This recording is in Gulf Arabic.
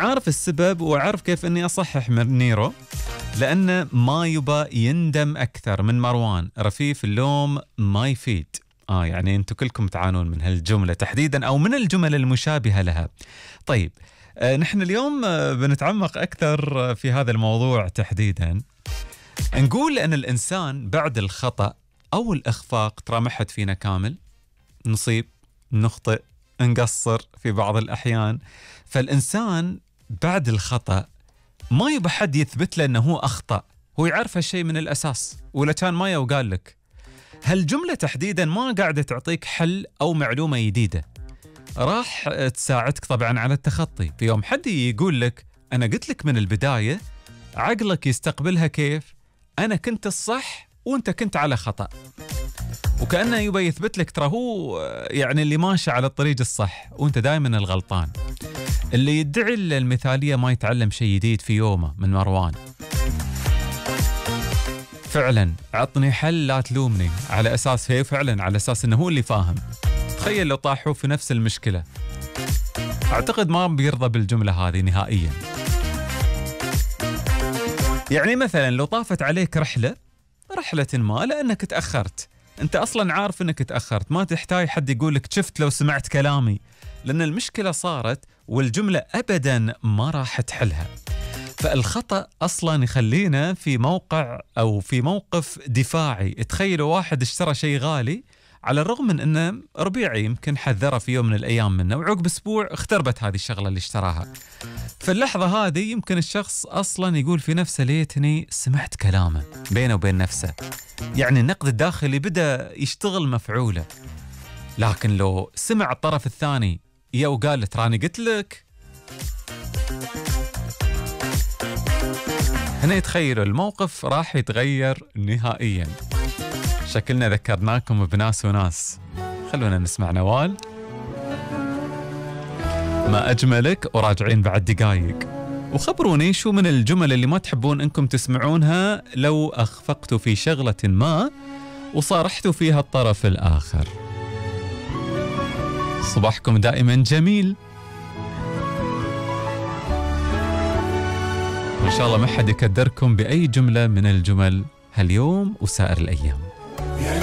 عارف السبب وعارف كيف اني اصحح من نيرو، لانه ما يبى يندم اكثر من مروان. رفيف اللوم ما يفيد. يعني انتم كلكم تعانون من هالجملة تحديدا او من الجمل المشابهة لها. طيب نحن اليوم بنتعمق اكثر في هذا الموضوع تحديدا. نقول ان الانسان بعد الخطأ او الاخفاق، ترى ما حد فينا كامل، نصيب، نخطئ، نقصر في بعض الاحيان. فالانسان بعد الخطأ ما يبى حد يثبت له انه هو اخطأ، هو يعرف هالشيء من الاساس، ولا كان ما وقال لك. هالجملة تحديدا ما قاعدة تعطيك حل او معلومة جديدة راح تساعدك طبعا على التخطي. في يوم حد يقول لك انا قلت لك من البداية، عقلك يستقبلها كيف؟ انا كنت الصح وانت كنت على خطأ، وكأنه يبي يثبت لك ترى هو يعني اللي ماشي على الطريق الصح وانت دائما الغلطان. اللي يدعي المثالية ما يتعلم شيء جديد في يومه من مروان. فعلا عطني حل لا تلومني، على اساس هي فعلا على اساس انه هو اللي فاهم. تخيل لو طاحوا في نفس المشكلة، اعتقد ما بيرضى بالجملة هذه نهائيا. يعني مثلا لو طافت عليك رحلة ما لانك تأخرت، انت اصلا عارف انك تأخرت، ما تحتاج حد يقول لك شفت لو سمعت كلامي، لان المشكلة صارت والجملة ابدا ما راح تحلها. فالخطأ اصلا يخلينا في موقع او في موقف دفاعي. تخيلوا واحد اشترى شيء غالي على الرغم من انه ربيعي، يمكن حذره في يوم من الايام منه، وعقب اسبوع اختربت هذه الشغلة اللي اشتراها. في اللحظة هذه يمكن الشخص اصلا يقول في نفسه ليتني سمعت كلامه، بينه وبين نفسه. يعني النقد الداخلي بدأ يشتغل مفعولة. لكن لو سمع الطرف الثاني وقال تراني قلت لك، هنا يتخيلوا الموقف راح يتغير نهائيا. شكلنا ذكرناكم بناس وناس. خلونا نسمع نوال ما أجملك، وراجعين بعد دقايق. وخبروني شو من الجمل اللي ما تحبون انكم تسمعونها لو اخفقتوا في شغلة ما وصارحتوا فيها الطرف الآخر. صباحكم دائما جميل، وإن شاء الله ما حد يكدركم بأي جملة من الجمل هاليوم وسائر الأيام.